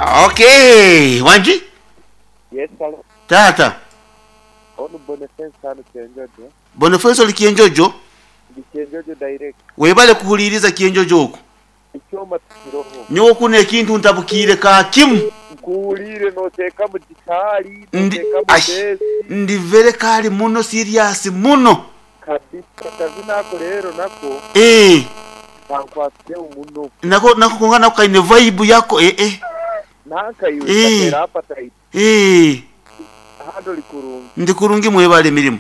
Okay, wangi? Yes salo. Taata. Onu Bonifensi hanu Kyenjojo. Bonifensi oli Kyenjojo? Ndi Kyenjojo direct. Webale kuhuliriza Kyenjojo okwo. Ekyoma tikiroho. Nyowe kunu ekintu ntabukiire ka kimu. Nkuwuliire noteekamu gitaali, Ndi noteekamu ash beesi. ndi very kali muno serious muno. Kabisa akazina ako rero nako Eeh. kankwasireho muno. Nako nako konka nako kaine vibe yako eh eh. Nanka iwe Eeh. kateera appetite. Eeh. Ahandi oli kurungi. Ndi kurungi mwebale emirimo.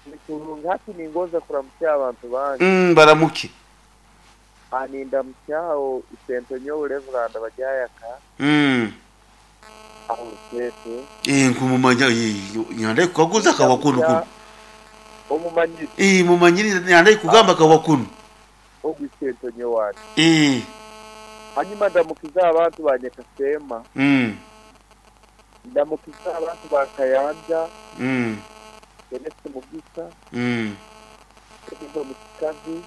Ndi kurungi hati ningonza kuramutsya abantu bange. Baramuke. Nindamutsyaho Isento nyowe Reverand Baryayaka. Aho Ruteete. Eeh nkumumanya eeh nyanda kukaguza kawa kunu kunu. Omumanyire. Eeh mumanyire nyanda kugamba kawa kunu. Ogu Isento nyowe ati. Eeh. Hanyuma ndamukize abantu ba Nyakaseema. Ndamukize abantu ba Kayanja. Kenneth Mugisa. Kenneth Mukikazi.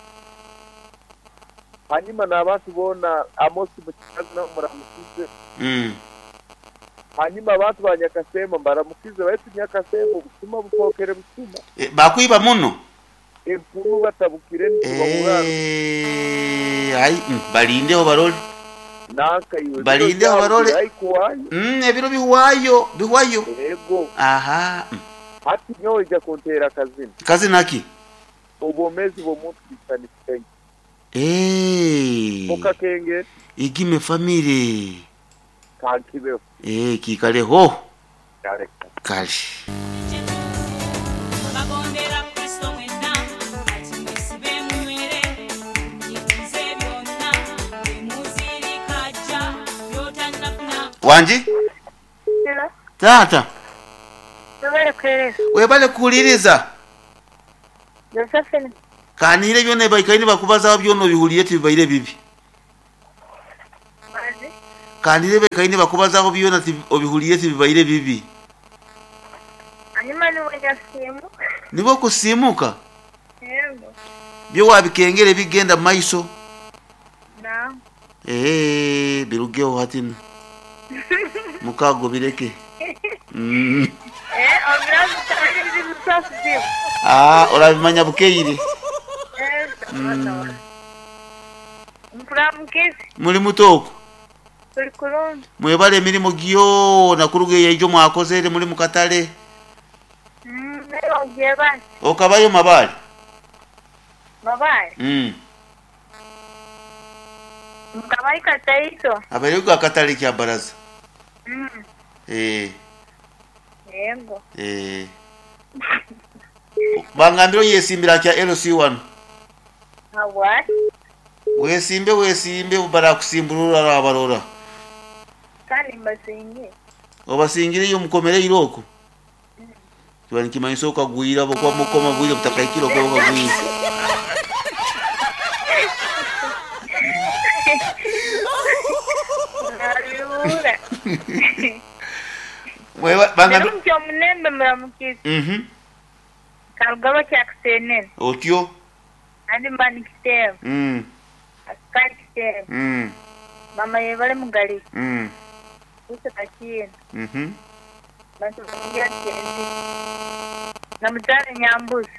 Hanyuma n'abantu boona Amos Mukikazi nabo muramukize. Hanyuma abantu ba Nyakaseema mbaramukize baitu Nyakaseema obusuma bufookere busuma. Bakwiba muno. Empunu batabukire nibabura. Ai balindeho barole. Nanka iwe. Balindeho barole. Haikuwayo. Ebiro bihwayo, bihwayo. Ego. Aha. Hati nyowe ija kuntera akazina. Kazina ki? Obwomezi bw'omuntu busanisenge. Eh. Mukakenge. Igime family. Kankibeho. Eh, kikaleho. Kale. Kale. Wangi? Hello. Taata. Webale kuhereza. Webale kuhuliriza. Josephine. Kanire byona baikaine bakubazaho byona obihuliire tibibaire bibi. Mazi. Kanire baikaine bakubazaho byona obihuliire tibibaire bibi. Hanyuma niwe nyasimu. Nibo kusimuka? Yego. Byo wabikengere bigenda mu maiso. Na. Eh, birugeho hatino. Mukago bireke. Eh, obirazi tabizi. Ah, orabimanya bukeire. Eh, Mpuramukezi. Muri mutoko. Tuli kurungi. Mwebale emirimu gyona kuruga eyo mwakozere muri mukatale. Nayo gyebale. Okabayo mabale. Mabale. Mukabayi kataito. Abayo akatale kya baraza. Eh. Yego. Eh. Bangambiro yesimbira kya LC1. Habwa? Wesimbe wesimbe barakusimburura abarora. Kandi mbasingi. Obasingire yo mukomere iroko. Kiba nikimanyisa okagwira bokwa mukoma bwire butakaikira okwo okagwira. Nalura. Wewe bangambiro Mukyo munembe muramukizi. Karugaba kya kusenene. Otyo. Andi mbani kitebo. Asikali kitebo. Mama yebale mugali. Uso kachina. Bantu bakingira kyenzi. Namuzale nyambuzi.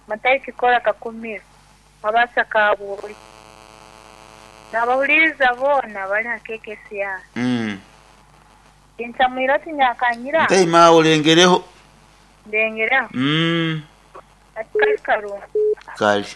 Matayi kikola kakumiro. Mabasa kabuli. Nabahuliriza bona bali hakekesi ya. Insamwira tinyakanyira. Ntaima olengereho. Ndengereho. Asikali karungi. Kali.